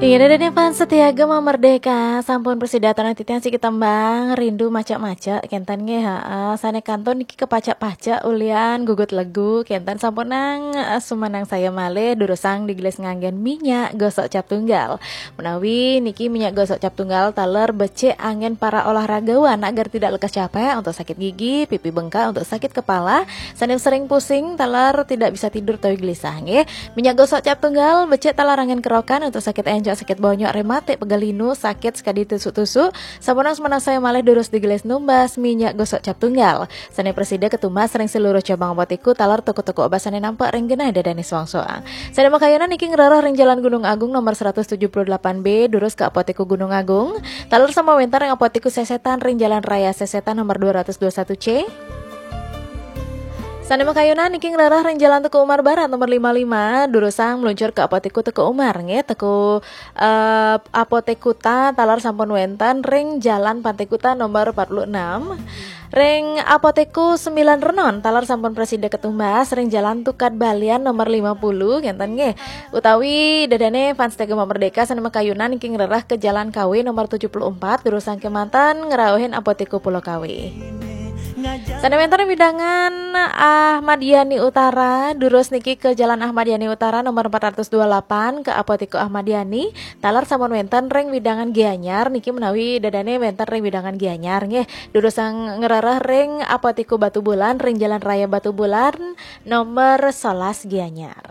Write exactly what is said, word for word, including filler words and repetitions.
Tinggi dada fans setia Gema Merdeka, sampun prasida titiang siki tembang Rindu Macak-Macak, kenten nggih, heeh. Sane kantun niki kepacak-pacak ulian gugut legu, kenten sampunang, eh, sumanang saya malih durusang digelis nganggen minyak gosok cap tunggal. Menawi niki minyak gosok cap tunggal taler becik anggen para olahragawan agar tidak lekas capek untuk sakit gigi, pipi bengkak untuk sakit kepala, sane sering pusing, taler tidak bisa tidur utawi gelisah nggih. Minyak gosok cap tunggal, becik taler anggen kerokan untuk sakit encok, sakit bonyok, rematik, pegal linu, sakit sekadi tusuk-tusuk. Sampunang sumanang saya malih durus digelis numbas minyak gosok cap tunggal. Sane prasida ketumbas ring seluruh cabang apotiku taler toko-toko obat sane nampek ring genah dadane soang-soang. Sane makayunan niki ngrereh ring Jalan Gunung Agung nomor seratus tujuh puluh delapan B, durus ke Apotiku Gunung Agung. Taler sampun wenten ring Apotiku Sesetan ring Jalan Raya Sesetan nomor dua ratus dua satu C. Sane makayunan niki ngrereh ring Jalan Teuku Umar Barat nomor lima lima, durusang meluncur ke Apotiku Teuku Umar nggih, Teuku, eh, Apotek Kuta taler sampun wenten ring Jalan Pantai Kuta nomor empat puluh enam. Ring Apotiku Sembilan Renon taler sampun prasida ketumbas ring Jalan Tukad Balian nomor lima puluh, kenten nggih. Utawi dadane fans Gema Merdeka sane makayunan niki ngrereh ke Jalan Kawi nomor tujuh puluh empat, durusang kemanten ngrauhin Apotiku Pulau Kawi. Sane wenten ring wewidangan Ahmad Yani Utara, durus niki ke Jalan Ahmad Yani Utara nomor empat ratus dua puluh delapan ke Apotiku Ahmad Yani, taler sampun wenten ring wewidangan Gianyar niki menawi dadane wenten ring wewidangan Gianyar nggih. Durusang ngrereh ring Apotiku Batubulan ring Jalan Raya Batubulan nomor sebelas Gianyar.